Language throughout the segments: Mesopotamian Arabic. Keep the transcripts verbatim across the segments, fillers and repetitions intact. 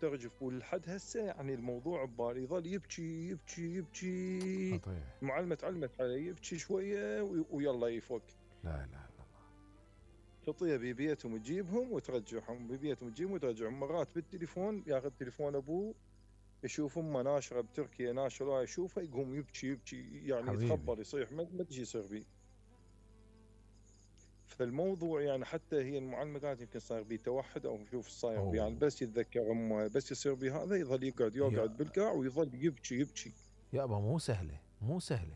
ترجف ولحد هسه يعني الموضوع ببالي يظل يبكي يبكي يبكي. خطير. المعلمة تعلمت عليه يبكي شويه ويلا يفك. لا اله الا الله. خطيه ببيتهم تجيبهم وترجعهم، ببيتهم تجيبهم وترجعهم. مرات بالتليفون ياخذ تليفون ابوه يشوف امه ناشره بتركيا ناشره يشوفها يقوم يبكي يبكي يعني حبيبي. يتخبر يصيح ما ادري ايش يصير بيه. فالموضوع يعني حتى هي المعلمه قالت يمكن صاير بيه توحد او شوف صاير بيه، يعني بس يتذكر امه بس يصير بيه هذا يظل يقعد يقعد بالقاع ويظل يبكي يبكي. يابا مو سهله مو سهله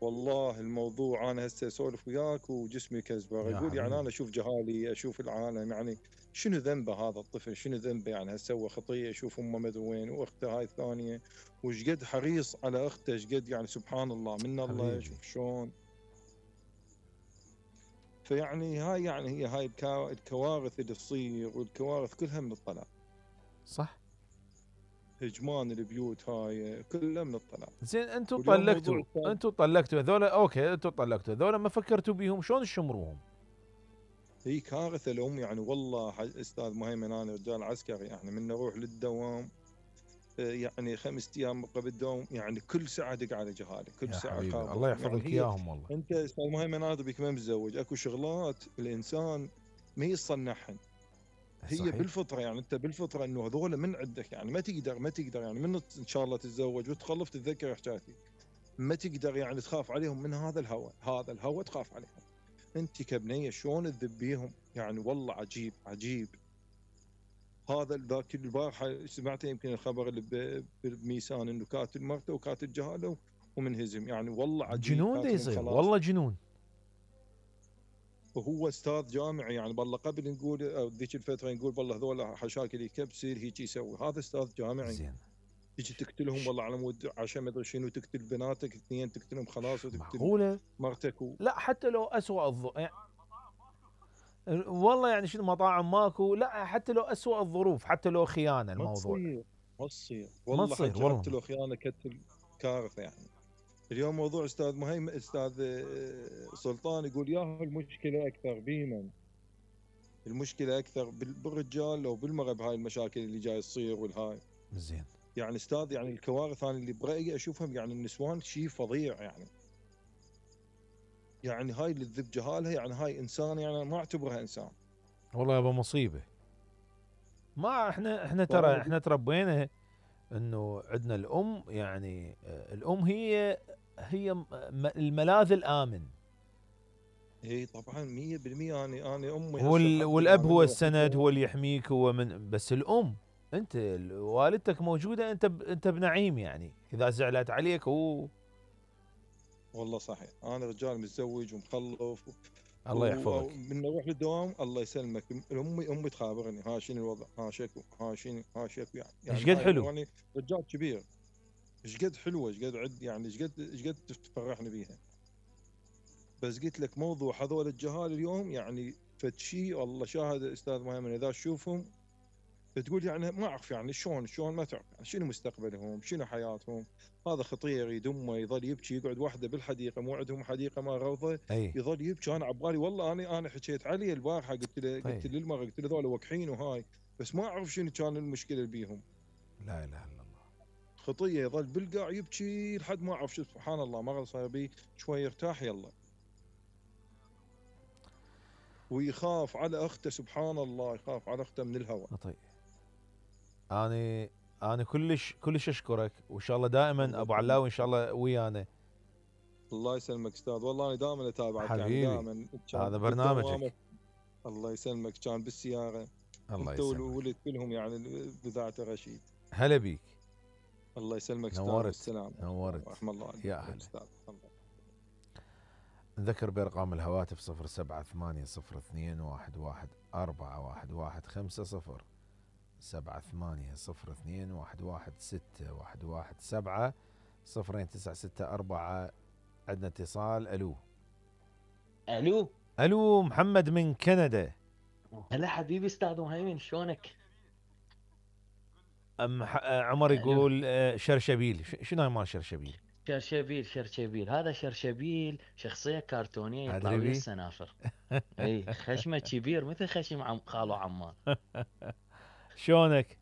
والله الموضوع انا هسه اسولف وياك وجسمي كزبر. اقول يعني انا اشوف جهالي اشوف العالم، يعني شنو ذنبه هذا الطفل؟ شنو ذنبه يعني؟ هسه سوى خطيه اشوف امه مدري وين واخته هاي الثانيه وش قد حريص على اخته، ايش قد يعني سبحان الله من الله. شوف شلون. فيعني هاي يعني هي هاي الكوارث اللي تصير، والكوارث كلها من الطلاق. صح. هجمان البيوت هاي كلها من الطلاق. زين انتم طلقتوا انتم طلقتوا هذول اوكي انتم طلقتوا هذول ما فكرتوا بيهم شلون تشمروهم؟ هي كارثه الام يعني. والله استاذ مهيمن انا رجال عسكري يعني من نروح للدوام يعني خمس ايام قبل الدوام يعني كل ساعه دق على جهالي كل ساعه خابر. الله يحفظك يعني اياهم والله. انت استاذ مهيمن هذا بك ما متزوج، اكو شغلات الانسان ما يصنعهن. هي صحيح. بالفطره يعني انت بالفطره انه هذول من عندك يعني ما تقدر ما تقدر يعني من ان شاء الله تتزوج وتخلف تتذكر حكايتي ما تقدر يعني تخاف عليهم من هذا الهوى، هذا الهوى تخاف عليهم. انت كبنيه شلون تذبيهم يعني والله عجيب عجيب. هذا ذاك البارحه سمعت يمكن الخبر اللي بميسان انه قاتل مرته وقاتل جهاله ومنهزم، يعني والله عجيب. جنون ده يصير والله جنون. وهو استاذ جامعي يعني بالله قبل نقول ذيك الفتره نقول والله هذول حشاكل يكبسل هيك يسوي، هذا استاذ جامعي. زين. تجي تقتلهم والله على مود عشان ما ادري شنو، تقتل بناتك اثنين تقتلهم خلاص وتقتل معقوله مرتك و... لا حتى لو اسوء الظ... يعني والله يعني شنو مطاعم ماكو، لا حتى لو اسوء الظروف حتى لو خيانه الموضوع ما تصير ما تصير والله حتى والله. لو خيانه كتل كارثه يعني. اليوم موضوع استاذ مهيم استاذ سلطان يقول ياهو المشكله اكثر بيمن، المشكله اكثر بالرجال لو بالمراه بهاي المشاكل اللي جاي تصير والهاي. زين. يعني استاذ يعني الكوارث انا اللي برايي اشوفهم يعني النسوان شيء فظيع يعني. يعني هاي اللي تذب جهالها يعني هاي انسان يعني ما اعتبرها انسان. والله يابا مصيبه. ما احنا احنا ترى احنا تربينا انه عندنا الام يعني الام هي هي الملاذ الامن. اي طبعا مية بالمية. انا انا امي وال والاب هو السند هو اللي يحميك هو من بس الام انت والدتك موجوده انت ب... انت بنعيم يعني اذا زعلت عليك هو. والله صحيح. انا رجال متزوج ومخلف و... الله يحفظك. من اروح للدوام الله يسلمك امي امي تخابرني ها شنو الوضع ها شكو ها شنو ها شكو يعني ايش قد حلو يعني رجال كبير ايش قد حلوه ايش قد عد يعني ايش قد ايش قد تفرحني بيها. بس قلت لك موضوع هذول الجهال اليوم يعني فد شيء والله شاهد استاذ مهيمن اذا تشوفهم تقول يعني ما اعرف يعني شلون شلون ما تعرف يعني شنو مستقبلهم شنو حياتهم. هذا خطير يدمه يظل يبكي يقعد وحده بالحديقه مو عندهم حديقه ما روضه أي. يظل يبكي. انا عبالي والله انا انا حكيت عليه البارحه قلت له طيب. قلت للمره قلت له ذولا وقحين وهاي بس ما اعرف شنو كان المشكله بيهم. لا اله الا الله. خطيه يظل بالقاع يبكي لحد ما اعرف شو سبحان الله مره صار بي شوي يرتاح يلا ويخاف على اخته سبحان الله يخاف على اخته من الهوى. طيب انا انا كلش كلش اشكرك وان شاء الله دائما ابو علاوي ان شاء الله ويانا. الله يسلمك استاذ والله انا دائما اتابعك حبيبي. يعني دائما هذا برنامجك. الله يسلمك كان بالسياره الله انت والولد كلهم يعني بذاعه رشيد. هلا بيك. الله يسلمك استاذ. نورت والسلام نورت رحم الله عليك يا اهلا. نذكر بارقام الهواتف صفر سبعة ثمانية صفر اثنين واحد واحد أربعة واحد واحد خمسة صفر سبعة ثمانية صفر اثنين واحد واحد ستة واحد واحد سبعة صفرين تسعة ستة أربعة. عندنا اتصال. الو الو الو محمد من كندا. هلا حبيبي استاذ مهيمن شلونك؟ ام عمر يقول شرشبيل. شنو هاي مال شرشبيل؟ شرشبيل شرشبيل هذا شرشبيل شخصيه كرتونيه يطلع ويا السنافر. اي خشمه كبير مثل خشم عم خالو عمار. شلونك؟